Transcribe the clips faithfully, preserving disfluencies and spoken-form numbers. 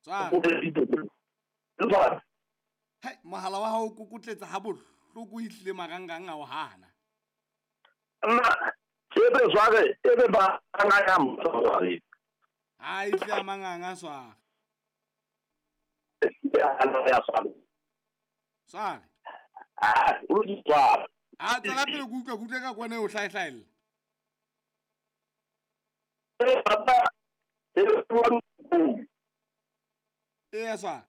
Sware. Hai, mohala wa hao o kokotletsa ha bohloko ehlile marangrang a o hana. Nna ebe sware ebe ba ngaya mtsware. Ha ehlile a manganga sware. Ya sware. Sware. Ah, o di sware. A tswela pele ke utlwa ke utlwe ka kwana e o hlaehlaella. Eh papa, e wa Eya sware.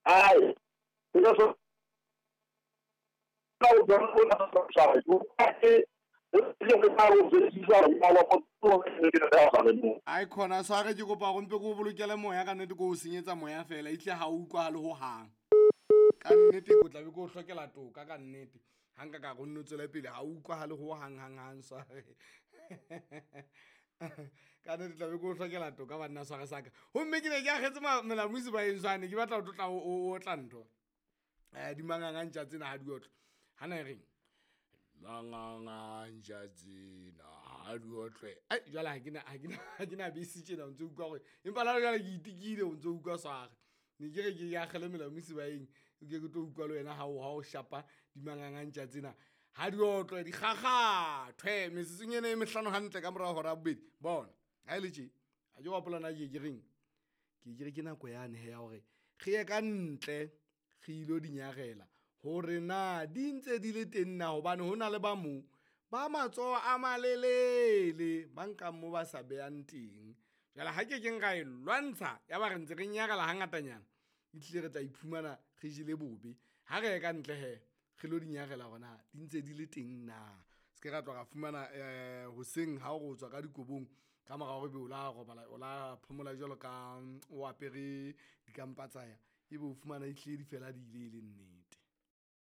Ai. Io so Ai khona sware ke kopa hore mpe ke o bolokele moya ka nnete, ke o senyetsa moya fela ehlile ha o utlwahale hohang. Ka nnete ke tla be ke o hlokela toka ka nnete. Ha nka ka re o nno tswele pele ha o utlwahale hohang hang hang sware. Ka nnete tla be ke o hlokela toka banna sware sa ka. Homme ke ne ke akgetse melamu sebaeng swane ke batla ho tlotla o otla ntho. Eh di manganga ntja tsena ha di otlwe. Hana e reng? Manganga ntja tsena ha di otlwe. Ai jwale ha ke na ha ke na ha ke na bese tjena o ntso utlwa hore empa la jwale ke itikile o ntso utlwa sware. Ne ke re ke akgele melamu sebaeng ke ke tlo utlwa le wena ha o ha o shapa di manganga ntja tsena ha di otlwe di kgakgathwe metsotsong ena e mehlano hantle ka mora hora ya bobedi. Bona ha e le tje ha ke hopola na ke ke reng, ke ke re ke nako yane he ya hore re ye ka ntle re ilo di nyarela hore na di ntse di le teng na, hobane ho na le ba mong ba matsoho a malelele ba nkang mo ba sa behang teng. Jwale ha ke keng ra e lwantsha ya ba re ntse re nyarela hangatanyana, ehlile re tla iphumana re jele bobe. Ha re ye ka ntle he re lo di nyarela hore na di ntse di le teng na. Se ke ra tloha ra fumana um hoseng ha o re o tswa ka dikobong ka mora hore ebe o la robala, o la phomola jwalo ka o apere dikampa tsa ya, ebe o fumana ehlile di fela di ile e le nnete.